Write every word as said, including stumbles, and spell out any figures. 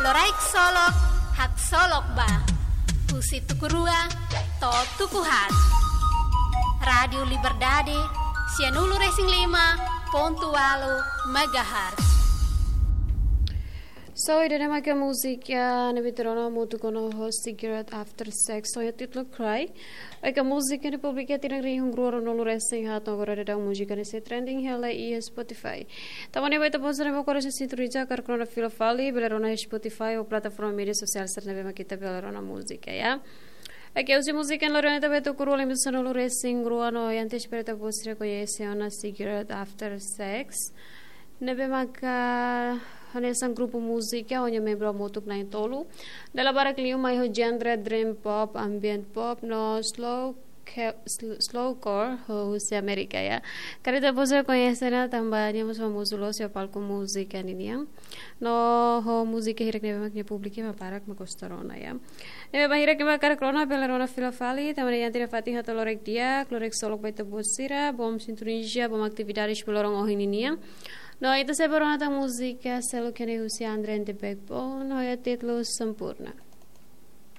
Loraik Solok, Haksolok Ba. Husi tuku rua to'o tuku haat. Rádiu Liberdade, sianulu-resin-lima pontu ualu megahertz. So, ida-ne'e mak múzika ne'ebé ita rona hamutuk ona ho Cigarette After Sex, ho títulu Cry. Bainhira múzika ne'e publika iha tinan rihun rua ruanulu-resin-haat, agora daudaun múzika ne'e sei trending hela iha Spotify. Tanba ne'e ba ita-boot sira ne'ebé mak agora sei sintoniza karik rona fila fali, bele rona iha Spotify ou plataforma média sosiál sira ne'ebé mak ita bele rona múzika, ya. Oke, husi múzika ne'e lori ona ita ba tuku rua liu sanulu-resin-rua no, antes para ita-boot sira koñese ona Cigarette After Sex. Ne'ebé maka hanesan grupu múzika ho nia membru hamutuk na'in-tolu. Dala barak liu mai ho genre dream pop, ambient pop no slow ke-, sl-, slowcore husi Amérika, ya. Karik ita-boot sira koñese ona tanba nia mós famozu loos iha palku múzika ninian. No ho múzika hirak ne'ebé mak nia públiku ema barak mak gosta rona, ya. Ne'ebé bainhira ema karik rona bele rona fila fali, tanba ne'e iha tiha fatin hato'o loraik di'ak, loraik solok ba ita-boot sira, bom sintonizia, bom atividades ba loron ohin ninian. No ita sei bá rona tan múzika seluk ne'e husi Andre and the Backbone, ho títulu Sempurna.